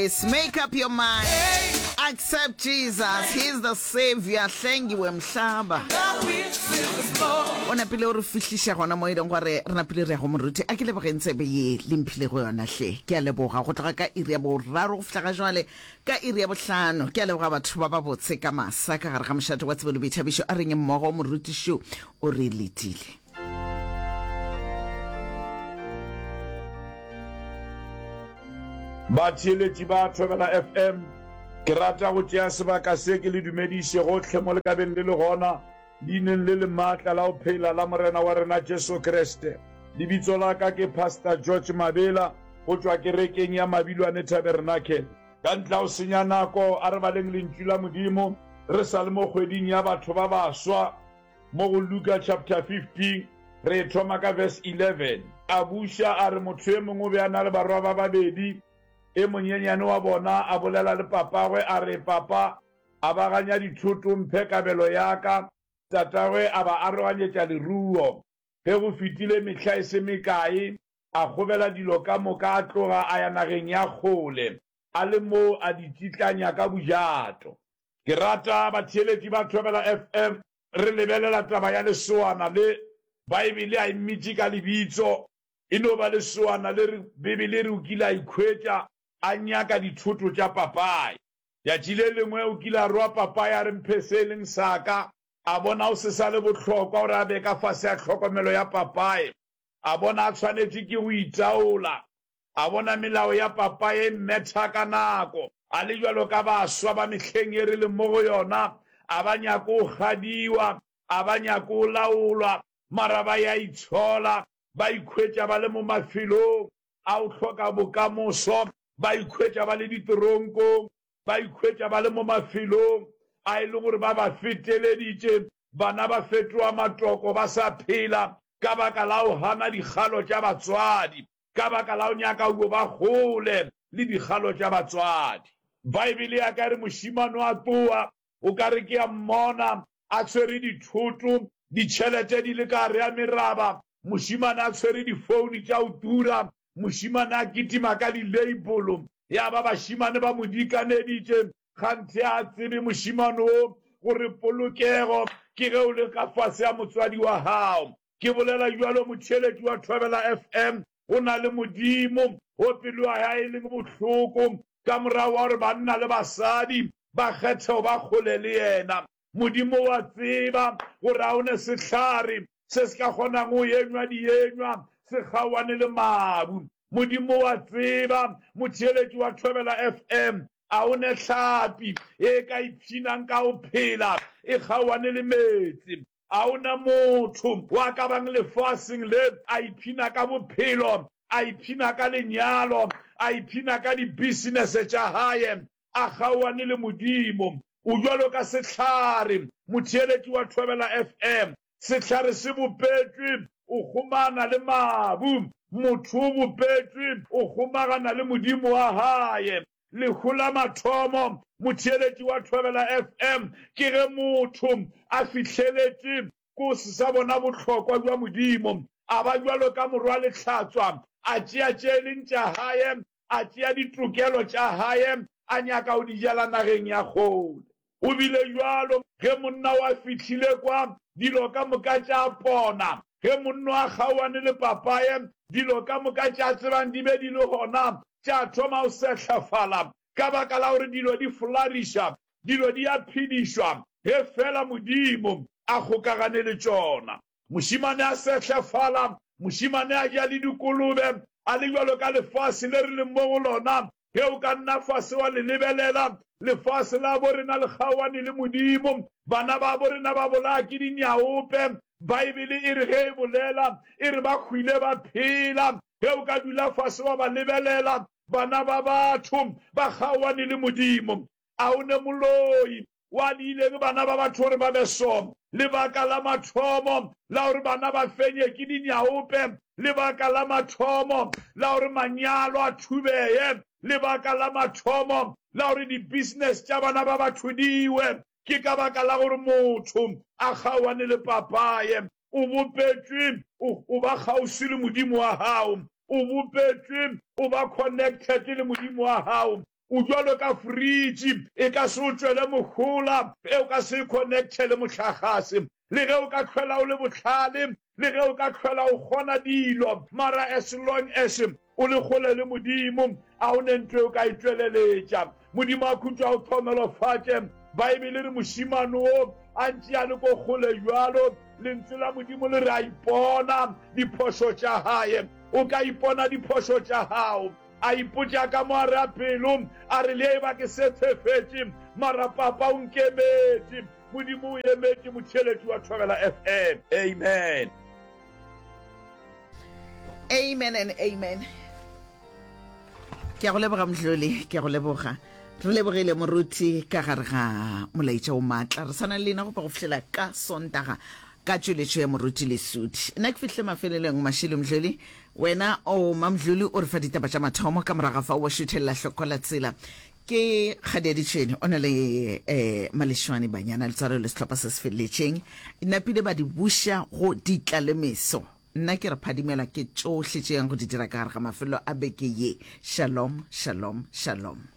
choice. Make up your mind. Accept Jesus. He's the savior. Hlengiwe mhlaba. O napile o re fihliša gona mo e leng gore re napile re ya go moruti. A ke lebogeng tsebe ye le mphile go yona hle. Ke a leboga go tloga ka iri ya boraro go fihla ga jwale ka iri ya bohlano. Ke a leboga batho ba ba botse ka masa ka gare ga mošate wa tsebo le boithabišo. A reng mmogo morutišo o re letile. Batheeletši ba Thobela FM, ke rata go tšea sebaka se ke le dumediše gohle mo le ka beng le le gona, leineng le le maatla la go phela la Morena wa rena Jesu Kriste. Lebitso la ka ke Pastor George Mabela go tšwa kerekeng ya Mabilwane Tabernacle. Ka ntla go senya nako, a re baleng Lentšu la Modimo re sa le mo kgweding ya batho ba baswa. Mo go Luka chapter 15, re e thoma ka verse 11. A buša a re, Motho e mongwe o be a na le barwa ba babedi. E monyenyane wa bona a bolela le papagwe a re, Papa, abaganya dithoto, mphe kabelo ya ka. Tatagwe a ba aroganyetša leruo. Ge go fetile mehla e se mekae, a kgobela dilo ka moka a tloga a ya nageng ya kgole, a le moo a di tšitlanya ka bojato. Ke rata batheeletši ba Thobela FM re lebelela taba ya lesoana le. Baebele a e mmitše ka lebitso, e no ba lesoana le re Bibele e re o kile a ikhwetša a nyaka dithoto tša papaye. Tšatši le lengwe o kile a roa papaye a re mphe se e leng sa ka, a bona o se sa le bohlokwa gore a be ka fase ga tlhokomelo ya papaye, a bona a tshwanetše ke go itaola. A bona melao ya papaye e mmetha ka nako. A le bjalo ka baswa ba mehleng ye re leng mo go yona, a ba nyake go kgadiwa, a ba nyake go laolwa, mara ba ya itshola, ba ikhwetša ba le mo mafelong a go hloka bokamoso, ba ikhwetša ba le diteronkong, ba ikhwetša ba le mo mafelong a e leng gore ba ba feteleditše, bana ba fetoga matoko ba sa phela ka baka la go gana dikgalo tša batswadi. Ka baka la go nyaka go ba kgole le dikgalo tša batswadi. Baebele ya ka e re mošemane wa tloa, o ka re ke a mmona a tshwere dithoto, ditšhelete di le ka gare ga meraba, mošemane a tshwere difouni tša go tura, mošemane a kitima ka di-label, ya ba bašemane ba mo dikaneditše, kganthe a tsebe mošemane wo gore polokego ke ge o le ka fase ga motswadi wa gago. Ke bolela bjalo motheeletši wa Thobela FM, go na le Modimo wo pelo ya hae e leng bohloko ka morago wa gore banna le basadi ba kgethe go ba kgole le yena. Modimo wa tseba gore ga o ne sehlare se se ka kgonang go enywa dienywa se kgaoane le mabu. Modimo wa tseba motheeletši wa Thobela FM, a o ne hlapi e ka ipshinang ka go phela e kgaoane le meetse. A o na motho wa ka bang lefaseng le a ipshina ka bophelo, a ipshina ka lenyalo, a ipshina ka dibisinese tša gae, a kgaoane le Modimo? O bjalo ka sehlare, motheeletši wa Thobela FM. Sehlare se bopetšwe o kgomana le mabu. Motho o bopetšwe o kgomagana le Modimo wa gae. Lehu la mathomo, motheeletši wa Thobela FM, ke ge motho a fihleletše ko se sa bona bohlokwa bja Modimo, a ba bjalo ka morwa lehlatswa, a tšea tše e leng tša hae, a tšea ditokelo tša hae, a nyaka go di jela nageng ya kgole. Go bile bjalo ge monna wa fihlile kwa, dilo ka moka tša pona. Ge monno a kgaoane le papaye, dilo ka moka tša tsebang di be di le gona, tša thoma go sehlafala ka baka la gore dilo di flariša, dilo di a phedišwa ge feela Modimo a kgokagane le tšona. Mošemane a sehlefala, mošemane a ja le dikolobe, a le bjalo ka lefase le re leng mo go lona. Ge o ka nna fase wa le lebelela, lefase la bo rena le kgaoane le Modimo. Bana babo rena ba bolaya ke dinyaope. Baebele e re ge e bolela, e re ba hwile ba phela. Ge o ka dula fase wa ba lebelela, bana ba batho ba kgaoane le Modimo. A o ne moloi Wa diileng bana ba batho gore ba be so? Lebaka la mathomo la gore bana ba fenye ke dinyaope, lebaka la mathomo la gore manyalo a thubeye, lebaka la mathomo la gore di-business tša bana ba batho di we, ke ka baka la gore motho a kgaoane le papaye. O bopetšwe o, o ba kgauswi le Modimo wa gago. O bopetšwe o ba connected le Modimo wa gago. O bjalo ka fridge, e ka se o tšwele mohola ge o ka se e connecte le mohlagase. Le ge o ka hlwela o le bohlale, le ge o ka hlwela o kgona dilo, mara as long as o le kgole le Modimo, a o ne ntho e o ka e tšweleletša. Modimo a khutšo a o hlohonolofatše. Baebele e re mošemane wo a ntše a le ko kgole bjalo, Lentswe la Modimo le re a ipona diphošo tša gae. O ka ipona diphošo tša gago. A ipotša ka mo a re a pelo, a re, Le eba ke se tshefetše, mara Papa o nkemetše. Modimo o emetše motheeletši wa Thobela FM. Amen. Amen and amen. Ke a go leboga Mdluli, ke a go leboga. Re lebogile moruti ka gare ga molaetša o maatla. Re sana le lena go pa go fihlela ka Sontaga ka tšweletšo ya moruti Lesudi. Nna ke fihlile mafelelong Mashilo Mdluli. Wena o Mamdluli o re fa ditaba tša mathomo ka morago ga fao wa šuthelela hloko la tsela. Ke Kgadi ya Ditšhwene o na le eh, Malešwane Banyana Letswalo le sehlopha se se feleletšeng. Napile ba di buša go ditla le meso. Nna ke re phadimela ke tšohle tše yang go di dira ka gare ga mafelo a beke ye. Shalom, shalom, shalom.